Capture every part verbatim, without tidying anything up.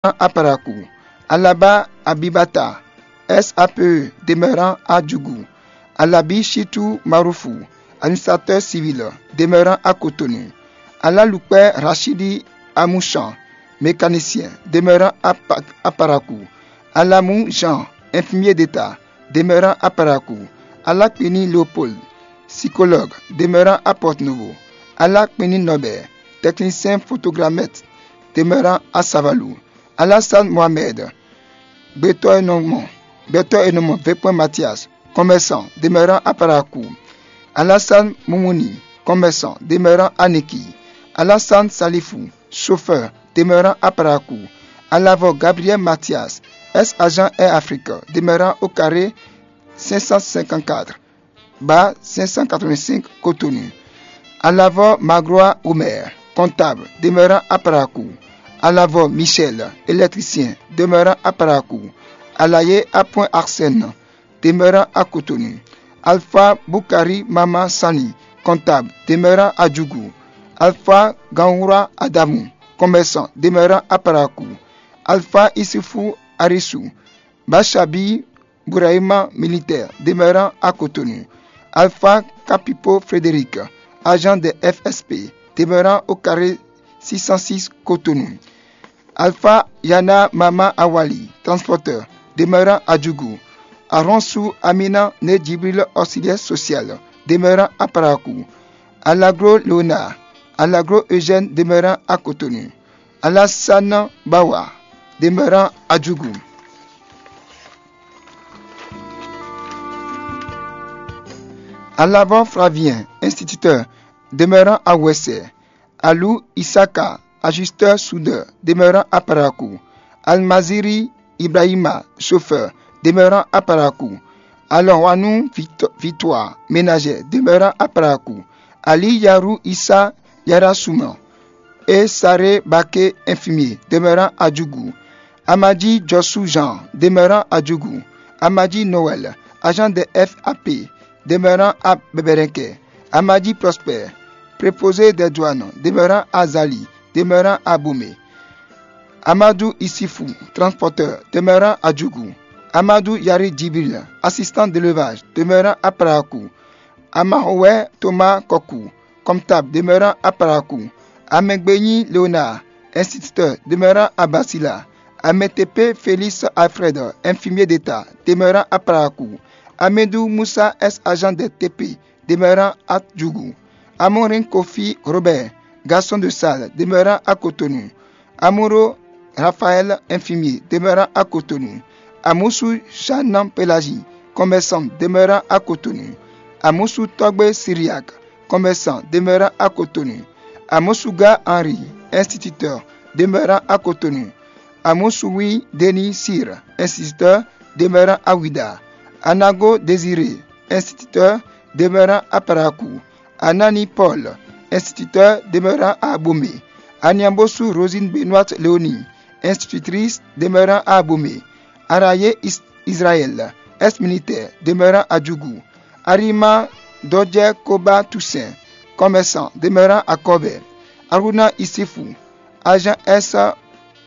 à Parakou. Alaba Abibata, S A P E, demeurant à Djougou. Alabi Chitou Maroufou, administrateur civil, demeurant à Cotonou. Alalukpɛ Rachidi Amouchan, mécanicien, demeurant à, Pa- à Parakou. Alamou Jean, infirmier d'État, demeurant à Parakou. Alakpini Léopold, psychologue, demeurant à Porto-Novo. Alakpini Norbert, technicien photogrammètre, demeurant à Savalou. Alassane Mohamed, gbɛtɔ́ e nɔ mɔ gbɛtɔ́ e nɔ mɔ vekpɔ́n Mathias, commerçant, demeurant à Parakou. Alassane Moumouni, commerçant, demeurant à Niki. Alassane Salifou, chauffeur, demeurant à Parakou. Alavɔ Gabriel Mathias, ex-agent Air Afrique, demeurant au carré cinq cent cinquante-quatre, bas cinq cent quatre-vingt-cinq, Cotonou. Alavɔ Magroa Omer, comptable, demeurant à Parakou. Alavɔ Michel, électricien, demeurant à Parakou. Alayé Appoint Arsène, demeurant à Cotonou. Alpha Boukari Mama Sani, comptable, demeurant à Djougou. Alpha Gangoura Adamou, commerçant, demeurant à Parakou. Alpha Issoufou Arissou, Bachabi Bourahima, militaire, demeurant à Cotonou. Alpha Capipo Frédéric, agent de F S P, demeurant au carré six cent six, Cotonou. Alpha Yana Mama Awali, transporteur, demeurant à Djougou. Aronsou Amina Né Djibril, auxiliaire social, demeurant à Parakou. Alagro Léonard, Alagro Eugène, demeurant à Cotonou. Alassane Bawa, demeurant à Djougou. Alavɔ Flavien, instituteur, demeurant à Ouessé. Alou Issaka, ajusteur soudeur, demeurant à Parakou. Almaziri Ibrahima, chauffeur, demeurant à Parakou. Alɔwanou Victoire, ménagère, demeurant à Parakou. Ali Yarou Issa Yarasouman, et Saré Baké, infirmier, demeurant à Djougou. Amadi Jossou Jean, demeurant à Djougou. Amadi Noël, agent de F A P, demeurant à Bébérinqué. Amadi Prosper, préposé des douanes, demeurant à Zali, demeurant à Bomé. Amadou Isifou, transporteur, demeurant à Djougou. Amadou Yari Djibril, assistant d'élevage, demeurant à Parakou. Amahowɛ Thomas Kokou, comptable, demeurant à Parakou. Amɛgbényi Léonard, instituteur, demeurant à Basila. Amɛtepé Félix Alfred, infirmier d'État, demeurant à Parakou. Amédou Moussa, ex-agent de T P, demeurant à Djougou. Amorin Kofi Robert, garçon de salle, demeurant à Cotonou. Amouro Raphaël, infirmier, demeurant à Cotonou. Amoussou Jeanne Pélagie, commerçant, demeurant à Cotonou. Amoussou Togbe Syriaque, commerçant, demeurant à Cotonou. Amoussouga Henri, instituteur, demeurant à Cotonou. Amoussouwi Denis Cyr, instituteur, demeurant à Ouidah. Anago Désiré, instituteur, demeurant à Parakou. Anani Paul, instituteur, demeurant à Abomey. Aniambosu Rosine Benoîte Léonie, institutrice, demeurant à Abomey. Arayé Is- Israël, ex-militaire, demeurant à Djougou. Arima Dodje Koba Toussaint, commerçant, demeurant à Kobé. Aruna Isifou, agent S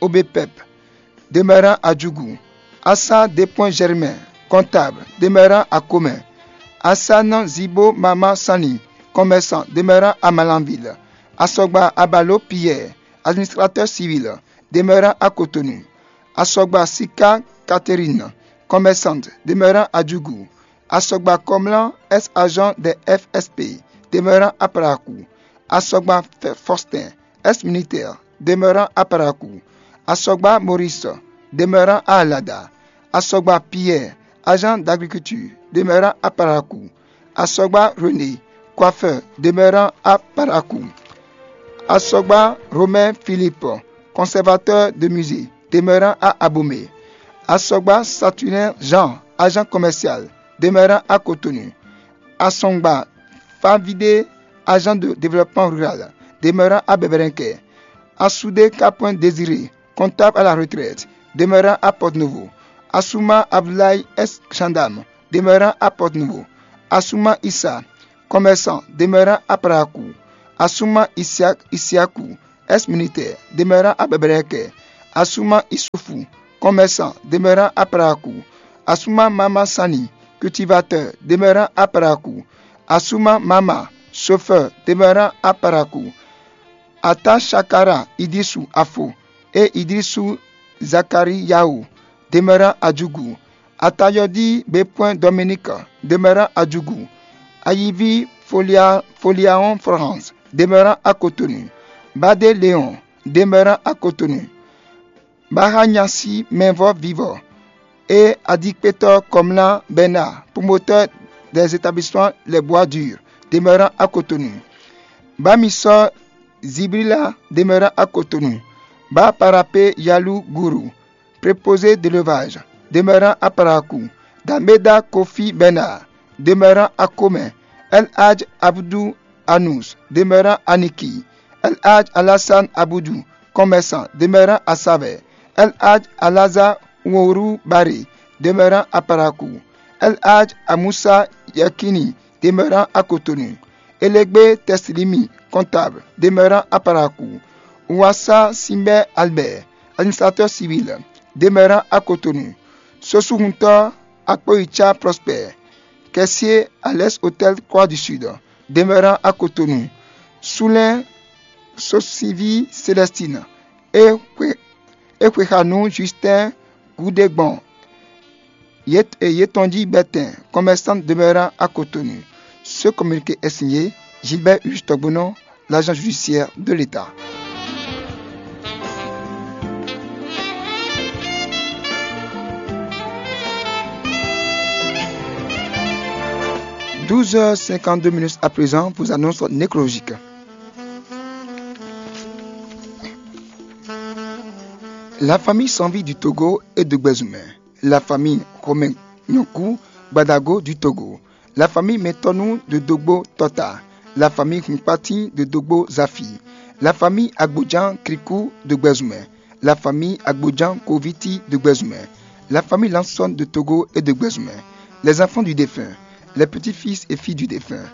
O B P E P, demeurant à Djougou. Assa Dépouin Germain, comptable, demeurant à Comé. Assan Zibo Mama Sani, commerçant, demeurant à Malanville. Asɔgba Abalo Pierre, administrateur civil, demeurant à Cotonou. Asɔgba Sika Catherine, commerçante, demeurant à Djougou. Asɔgba Kɔmlá, ex-agent de F S P, demeurant à Parakou. Asɔgba Faustin, ex-militaire, demeurant à Parakou. Asɔgba Maurice, demeurant à Alada. Asɔgba Pierre, agent d'agriculture, demeurant à Parakou. Asɔgba René, coiffeur, demeurant à Parakou. Asɔgba Romain Philippe, conservateur de musée, demeurant à Abomey. Asɔgba Saturnin Jean, agent commercial, demeurant à Cotonou. Asɔgba Favide, agent de développement rural, demeurant à Bébérinquet. Assoudé Capouin Désiré, comptable à la retraite, demeurant à Porto-Novo. Assouma Abdoulaye, ex-gendarme, demeurant à Porto-Novo. Assouma Issa, commerçant, demeurant à Parakou. Assouma Issiakou, ex-militaire, demeurant à Bébérinquet. Asuma Isufu, commerçant, demeurant à Parakou. Asuma Mama Sani, cultivateur, demeurant à Parakou. Asuma Mama, chauffeur, demeurant à Parakou. Ata Shakara Idrisu Afo et Idrisu Zakariyahu, demeurant à Djougou. Atayɔdi Bepwɛn Dominique, demeurant à Djougou. Ayivi Folia, Foliahon Florence, demeurant à Cotonou. Bade Léon, demeurant à Cotonou. Bahanyasi Mɛvɔ Vivɔ et Adikpetɔ Komla Bernard, promoteur des établissements Les Bois Durs, demeurant à Cotonou. Bamisɔ Zibrila, demeurant à Cotonou. Ba Parapé Yalou Gourou, préposé d'élevage, demeurant à Parakou. Dameda Kofi Bernard, demeurant à Komé. El Hadj Abdou Anous, demeurant à Niki. El Hadj Alassane Aboudou, commerçant, demeurant à Savè. El Hadj Alaza Wourou Baré, demeurant à Parakou. El Hadj Amoussa Yakini, demeurant à Cotonou. Elegbe Teslimi, comptable, demeurant à Parakou. Ouassa Simbè Albert, administrateur civil, demeurant à Cotonou. Sosuhuntɔ Akpoicha Prosper, caissier à l'Est Hôtel Croix du Sud, demeurant à Cotonou. Soulin Sosivi Célestine et Kwe-, et Kwexanu Justin Goudégbon, Yet-, et Yetonji Bertin, commerçant demeurant à Cotonou. Ce communiqué est signé Gilbert Huche Togbono, l'agent judiciaire de l'État. Douze heures cinquante-deux minutes à présent, vous annonce nécrologique. La famille Sanvi du Togo et de Gbezumé. La famille Romain Nyonkou Gbadago du Togo. La famille Metonu de Dogbo Tota. La famille Hunkpatin de Dogbo Zafi. La famille Agbodjan Krikou de Gbezumé. La famille Agbodjan Koviti de Gbezumé. La famille Lanson de Togo et de Gbezumé. Les enfants du défunt, les petits-fils et filles du défunt,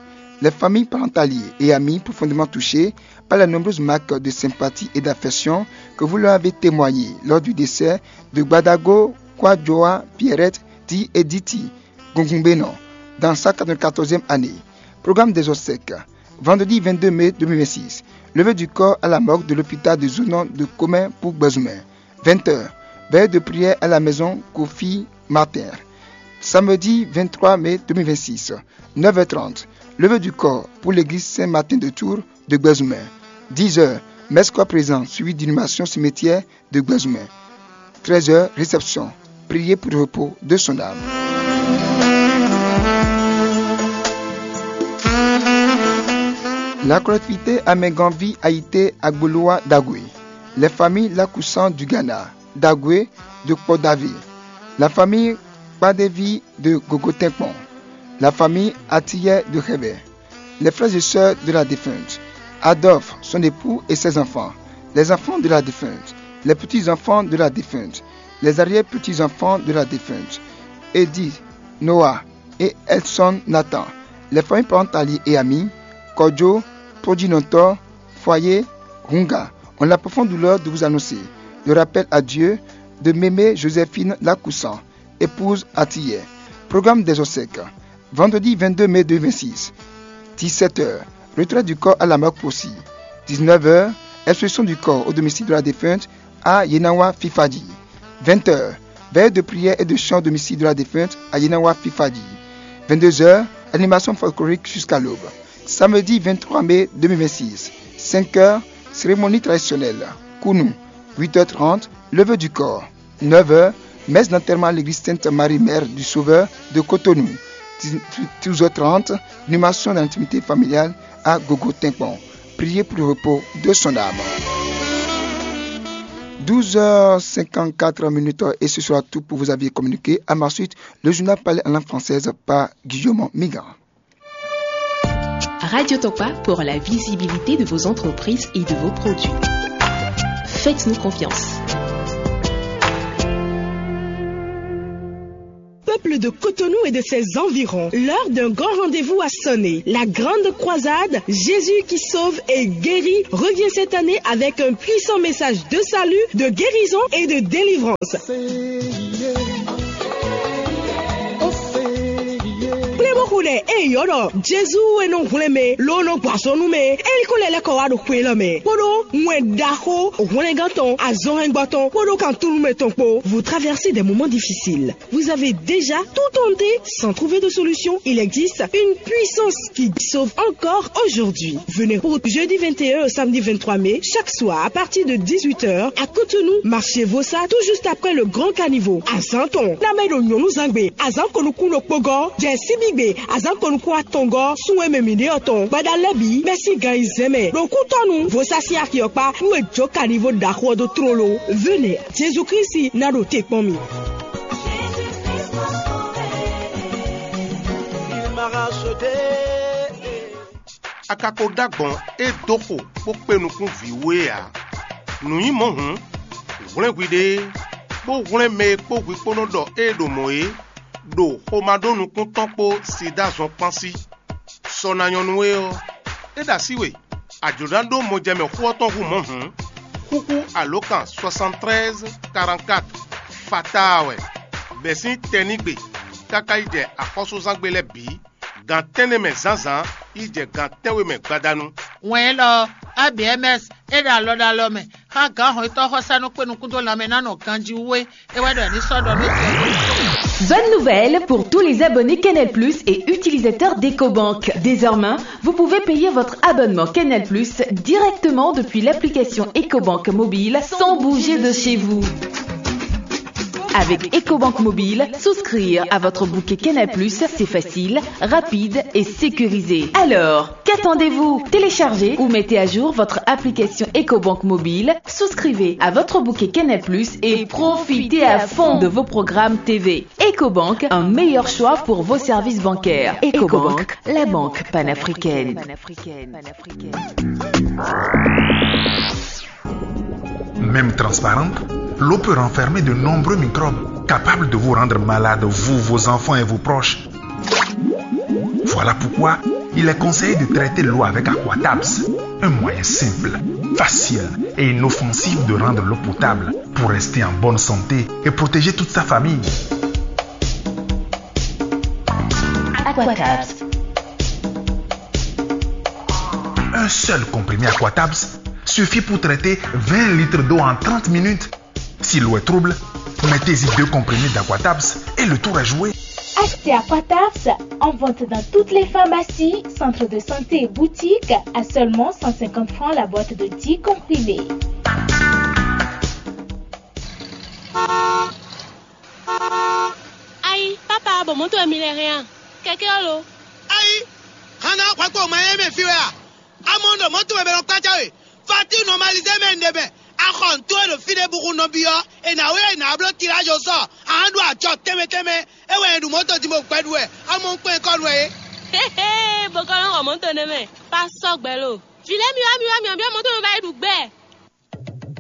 les familles, parents alliés et amis profondément touchés par les nombreuses marques de sympathie et d'affection que vous leur avez témoignées lors du décès de Gbadago Kwadjoa Pierrette, dit Editi Gungungbénon, dans sa quatre-vingt-quatorzième année. Programme des obsèques. Vendredi vingt-deux mai deux mille vingt-six, levée du corps à la morgue de l'hôpital de Zounon de Commun pour Gbezumé. Vingt heures, veillée de prière à la maison Kofi Martin. Samedi vingt-trois mai deux mille vingt-six, neuf heures trente, levée du corps pour l'église Saint-Martin de Tours de Gbezumé. Dix heures, messe corps présent suivie d'inhumation cimetière de Gbezumé. Treize heures, réception. Priez pour le repos de son âme. La collectivité Améganvi a été Agboloa Dagoué. Les familles Lakoussan du Ghana, Dagoué de Kpodaville. La famille Kpadevi de Gogotenkpon. La famille Atiyeh de Khébé. Les frères et sœurs de la défunte, Adolphe, son époux et ses enfants, les enfants de la défunte, les petits-enfants de la défunte, les arrière-petits-enfants de la défunte, Edith, Noah et Edson Nathan, les familles, parents alliés et amis, Kodjo, Prodjinontor, Foyer, Hunga, ont la profonde douleur de vous annoncer le rappel à Dieu de Mémé Joséphine Lakoussan, épouse Atiyeh. Programme des obsèques. Vendredi vingt-deux mai deux mille vingt-six, dix-sept heures, retrait du corps à la morgue Possy. Dix-neuf heures, instruction du corps au domicile de la défunte à Yenawa Fifadi. Vingt heures, veillée de prière et de chant au domicile de la défunte à Yenawa Fifadi. Vingt-deux heures, animation folklorique jusqu'à l'aube. Samedi vingt-trois mai deux mille vingt-six, cinq heures, cérémonie traditionnelle, Kounou. Huit heures trente, levée du corps. Neuf heures, messe d'enterrement à l'église Sainte-Marie-Mère du Sauveur de Cotonou. Douze heures trente, inhumation dans l'intimité familiale à Gogo Tinkpon. Priez pour le repos de son âme. Douze heures cinquante-quatre minutes et ce sera tout pour vous aviez communiqué. À ma suite, le journal parlé en langue française par Guillaume Migan. Radio Tokpa pour la visibilité de vos entreprises et de vos produits. Faites-nous confiance. de Cotonou et de ses environs. L'heure d'un grand rendez-vous a sonné. La grande croisade, Jésus qui sauve et guérit, revient cette année avec un puissant message de salut, de guérison et de délivrance. Kplé bó xo ɖɛ e yɔ ɖɔ Jezu e nɔ hwlɛ́n mɛ ló nɔ gbɔ azɔn nú mɛ. Elikó lɛ́ lɛ́ kɔ wá ɖo xwe élɔ́ mɛ, kpódó wɛn ɖaxó hwlɛngán tɔn, azɔnhɛngbɔ tɔn, kpódó kan-túnúmɛ tɔn kpó. Vous traversez des moments difficiles. Vous avez déjà tout tenté sans trouver de solution. Il existe une puissance qui sauve encore aujourd'hui. Venez pour jeudi vingt et un au samedi vingt-trois mai, chaque soir à partir de dix-huit heures à Cotonou, marché Vossa, tout juste après le grand caniveau. Azan tɔn, na mɛ ɖo nyɔnu zangbe, azan konukun ɖokpó gɔ́, jɛ síbígbe, azan konukun atɔngɔ́, sun e mɛ mǐ ɖe ɔ́ tɔn, gbada lɛ́ɛ bǐ, bɛ́ sín gan yi zɛ́n mɛ, ɖo kútɔ́nu, Vossa sín axi ɔ́ kpá, nú è jó caniveau ɖaxó ɔ́ dó tlóló. Venez, Jésus Christ ná ɖo te kpɔ́n mi. A ka ko ɖó agbɔ̌n e dó xo bó kpé nukún vǐ wú é ǎ. Nǔ nyí mɔ̌ hǔn, hwlɛ́n hwiɖée, bó hwlɛ́n mɛ e kpó hwi kpó nɔ ɖɔ ée ɖo mɔ̌ é, ɖo xomado nukún tɔn kpó sida zɔn kpán sí. Sɔ ná nyɔ́ nú we ɔ́, é ɖo así we, a jlǒ ná ɖó mɔjɛmɛ xó ɔ́ tɔn hú mɔ̌ hǔn, xúxú alǒkan soixante-treize quarante-quatre fataa wɛ, bɛ̌ sín tɛnígbe káká yi jɛ axɔ́súzángbe lɛ́ɛ bǐ, gan tɛ́nnɛ mɛ zǎnzǎn yi jɛ gan tɛ́nwe mɛ gbadanu. Wɛn élɔ́ ɔ́, A B M S é ɖo alɔ ɖo alɔ mɛ xá gǎnhɔntɔ́ xɔsánú kpé nukún dó lanmɛ ná nɔ ganjí wú é, é wɛ ɖɔ ní sɔ́ ɖɔ nú tɔn. Bonne nouvelle pour tous les abonnés Canal Plus et utilisateurs d'Ecobank. Désormais, vous pouvez payer votre abonnement Canal Plus directement depuis l'application Ecobank mobile sans bouger de chez vous. Avec Ecobank Mobile, souscrire à votre bouquet Canal Plus, c'est facile, rapide et sécurisé. Alors, qu'attendez-vous ? Téléchargez ou mettez à jour votre application Ecobank Mobile, souscrivez à votre bouquet Canal Plus et profitez à fond de vos programmes T V. Ecobank, un meilleur choix pour vos services bancaires. Ecobank, la banque panafricaine. Même transparente, l'eau peut renfermer de nombreux microbes capables de vous rendre malade, vous, vos enfants et vos proches. Voilà pourquoi il est conseillé de traiter l'eau avec Aquatabs, un moyen simple, facile et inoffensif de rendre l'eau potable pour rester en bonne santé et protéger toute sa famille. Aquatabs. Un seul comprimé Aquatabs suffit pour traiter vingt litres d'eau en trente minutes. Si l'eau est trouble, mettez-y deux comprimés d'Aquatabs et le tour est joué. Achetez Aquatabs en vente dans toutes les pharmacies, centres de santé et boutiques à seulement cent cinquante francs la boîte de dix comprimés. Ayi, papa, bɔ mɔ̌to wɛ mi lɛ́ hɛn a? Kɛkɛ ɔ́ lo? Ayi, hana hwɛkpo ma yɛ mɛ fi wɛ a? Amɔ́ ɖo mɔ̌to wɛ mɛ nɔ kpácá we. Fati nɔmalizé mɛ un ɖe mɛ. Axɔ nǔ towe ɖo fí ɖé buxu nɔbí ɔ́, è nǎ wlí è nǎ bló tilázo sɔ. Ahan ɖo acɔ tɛnmɛ tɛnmɛ. É wɛ è ɖu mɔ̌to din bó gbɛ ɖu wɛ. Amɔ́ un kpɛn kɔ ɖu wɛ é. Hehe, bó kɔ nɔ xɔ mɔ̌to nɛ́ mɛ. Pa sɔ́ gbɛ lo. Vǐ lɛ́ɛ mi wá mi wá mi ɔ́, byɔ́ mɔ̌to mi ba yi ɖu gbɛ.